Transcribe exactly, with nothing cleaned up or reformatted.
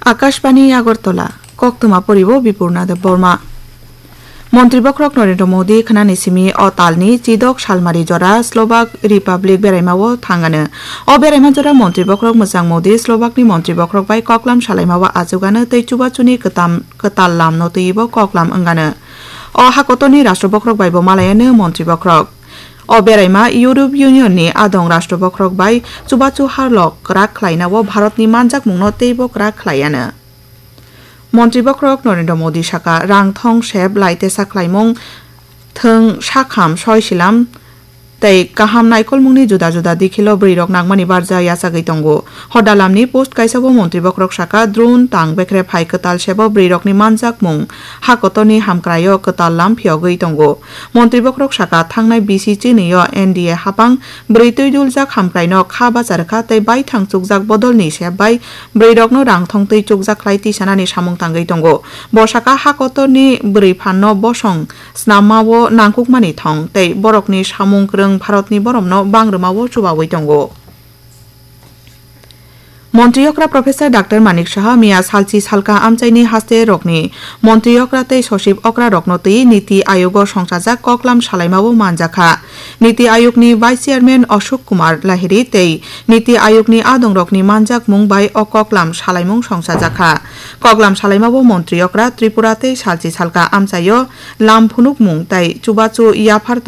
Akashbani Agartala, koktwma poribo Bipurna Debbarma. Montri bokhorok Narendra Modi khnani simi o talni chidok salmari jora Slovak Republic beraimao thangano. O beraima jora montri bokhorok mwchang Modi Slovakni montri bokhorok bai koklam salaimao achugano tei chubachuni kwtam-, kwtal lamno twibo koklam wngano. O hakotorni rashtra bokhorok baibo malayano montri bokhorok. O beraima Europe Union ni adong rashtra bokhorok bai chubachu harlok kwrak khlainao Bharatni manjakmungno teibo kwrak khlaiano. Montri bokhorok Narendra Modi saka, rang thong sep lai tesa khlaimung, thwng sakham soi silam tei kaham naikolmungni juda juda dikhilo bwrwirok nangmani barja yachagwi tongo. Hodalamni post kaisao montri bokhorok saka, drone tang bekre phai kwtal sebo bwrwirokni manjakmung hakotorni hamkraio kwtal lam phiyogwi tongo. Montri bokhorok saka, thangnai bisi chinio N D A hapang bwrwi twiduljak hamkraino kha bacha rwkha tei baithang chukjak bodolni sep bai bwrwirokno rang thong twi chukjak khlai tisanani samung tangwi tongo. Bo saka, hakotorni bwrwi phanno bosong snammao nangkukmani thong tei borokni samung kwrwng Bharatni boromno bang rwmao chubawi tongo. Montri okra Professor Doctor Manik Saha miya salchi salka amchaini haste rokni montri okra tei sochib okra rokno twi Niti Ayogo songchajak koklam salaimao manjakha. Niti Ayogni Vice Chairman Ashok Kumar Lahiri tei Niti Ayogni adongrokni manjakmung bai o koklam salaimung songchajakha. Koklam salaimao montri okra Tripura tei salchi salka amchaio lam phunukmung tei chubachu yaphar